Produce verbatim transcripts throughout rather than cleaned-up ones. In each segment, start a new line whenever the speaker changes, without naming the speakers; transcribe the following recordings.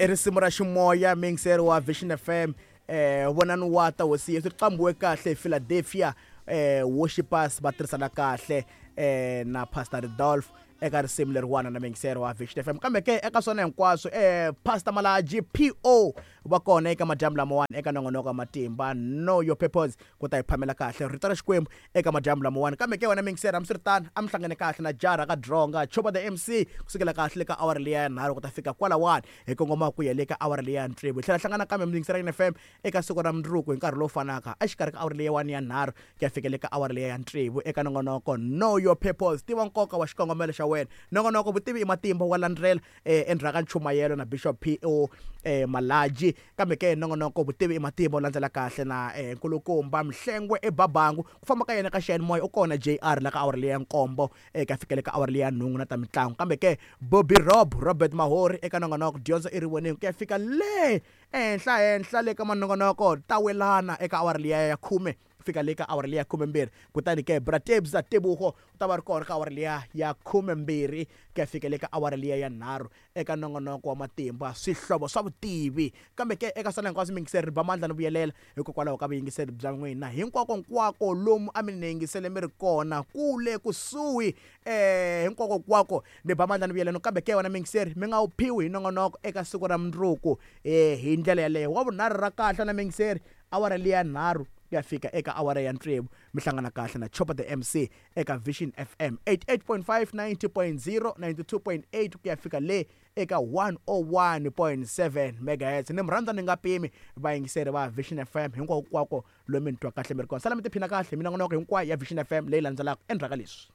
I risimu ra ximoya miyingiseri wa Vision F M, eh vonani wa ta hosi Yesu, ri qambiwe kahle hi Philadelphia eh Worshipers, va tirhisana kahle eh na Pastor Rodolph eka risimu leriwana na miyingiseri wa Vision F M. Kambe ke eka swona hinkwaswo, eh Pastor Malaji po va kona eka madyambu lamawani eka nongonoko wa matimba Know Your Purpose, ku ta hi phamela kahle rito ra Xikwembu eka madyambu lamawani. Kambe ke wena miyingiseri, hambiswiritano a mi hlangane kahle na jara ka dronga Chopa the M C kusukela kahle ka awara liya ya nharhu ku ta fika kwalawani hi kongoma ku ya le ka awara liya ya tsevu. Hi tlhela hlangana kambe miyingiseri ya F M eka siku ra mundzuku hi nkarhi lowu fanaka, exikarhi ka awara liya wani ya nharhu ku ya fikela ka awara liya ya tsevu eka nongonoko Know Your Purpose, tiva nkoka wa xikongomelo xa wena. Nongonoko Vutivi i Matimba wa landzela eh, endzhaku ka nchumayelo na Bishop po eh, Malaji. Kambe ke nongonoko Vutivi i Matimba u landzela kahle na eh, nkulukumba Mhlengwe ebabangu ku famba ka yena ka xiyanimoya u kona J R la ka awara liya ya nkombo eh, ka fikele ka awara liya ya nhungu na ta mitlangu. Kambe ke Bobby Rob Robert Mahori eka nongonoko Dyondzo i Rivoningo ku ya fika le ehenhla henhla le ka manongonoko ta welana eka awara liya ya khume fika le ka awara liya khumembirhi. Kutani ke Bratebza Tebuho u ta va ri kona ka awara liya ya khumembirhi ku ya fika le ka awara liya ya nharhu eka nongonoko wa matimba Swihlovo swa Vutivi. Kambe ke eka swona hinkwaswo miyingiseri, ri ba mandla ni vuyelela hikokwalaho ka vuyingiseri bya n'wina hinkwako nkwako lomu a mi ni yingisele mi ri kona kule kusuhi, eh hinkwako nkwako ni ba mandla ni vuyelela. Kambe ke wena miyingiseri, mi nga wu phiwi hi nongonoko eka siku ra mundzuku eh hi ndlela yaleyo wa vunharhu ra kahle na miyingiseri, awara liya nharhu ku ya fika eka awara ya tsevu, mi hlangana kahle na Chopa the M C eka Vision F M eighty-eight point five, ninety point zero, ninety-two point eight ku ya fika le eka one oh one point seven megahertz. Ni mi rhandza ni nga pimi vayingiseri va Vision F M hinkwako kwako lomu mi ni twa kahle mi ri kona. Sala mi tiphina kahle minongonoko hinkwayo ya Vision F M leyi landzelaka endzhaku ka leswi.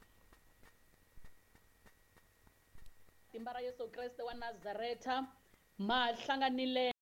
Timba ra Yesu Kreste wa Nazareta ma hlanganile.